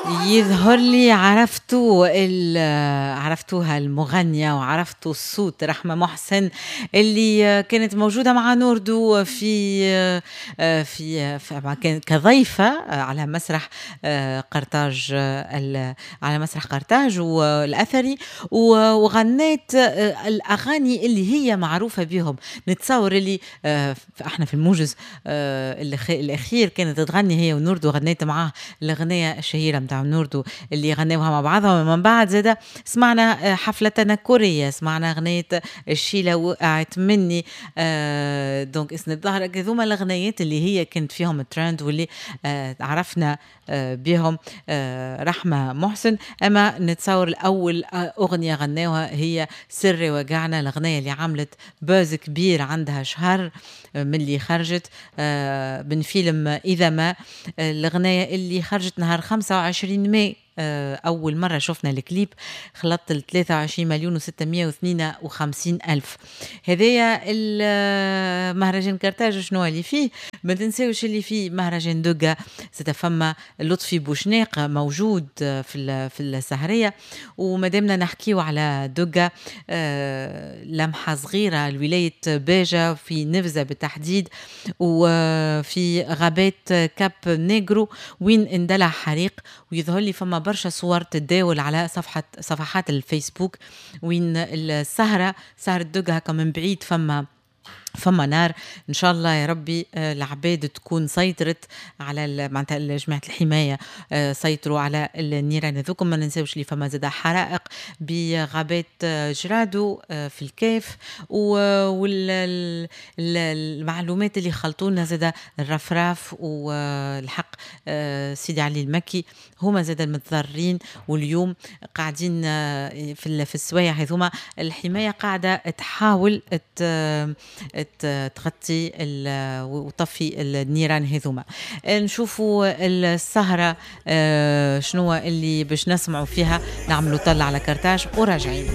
يظهر لي عرفتوا عرفتوها المغنية وعرفتوا الصوت، رحمة محسن اللي كانت موجودة مع نوردو في كضيفة على مسرح قرطاج، على مسرح قرطاج والأثري، وغنت الأغاني اللي هي معروفة بهم. نتصور اللي احنا في الموجز الأخير كانت تغني هي ونوردو، غنيت معاه الأغنية الشهيرة متاع نوردو اللي غناوها مع بعضهم. ومن بعد زادة سمعنا حفلة تنكرية، سمعنا أغنية الشيلة وقعت مني، donc اسند ظهرك. هذوما الأغنيات اللي هي كانت فيهم الترند واللي عرفنا بهم رحمة محسن. أما نتصور الأول أغنية غناوها هي سري وجعنا، الأغنية اللي عملت buzz كبير عندها شهر من اللي خرجت من فيلم إذا ما، الأغنية اللي خرجت نهار 25 ماي. أول مرة شفنا الكليب خلطت ال 23,652,000. هذايا مهرجان كرتاج شنو اللي فيه؟ ما تنساوش اللي فيه مهرجان دقة، فما لطفي بوشناق موجود في السهرية. ومادامنا نحكيو على دقة، لمحة صغيرة لولاية باجة في نفزة بالتحديد وفي غابات كاب نيغرو وين اندلع حريق، ويظهر لي فما برشا صور تتداول على صفحات الفيسبوك وين السهرة، سهرة دقة هكا من بعيد فما نار. ان شاء الله يا ربي العباد تكون سيطرت على معناتها جماعة الحماية سيطروا على النيران هذوكم. ما ننساوش اللي فما زاد حرائق بغابات جرادو في الكاف، والمعلومات اللي خلطونا زاد الرفراف والحق سيدي علي المكي هما زاد المتضررين. واليوم قاعدين في السوايع هذوما الحماية قاعدة تحاول تغطي وتطفي النيران هذوما. نشوفوا السهرة شنو اللي باش نسمعوا فيها، نعملوا طلة على كرتاج وراجعين.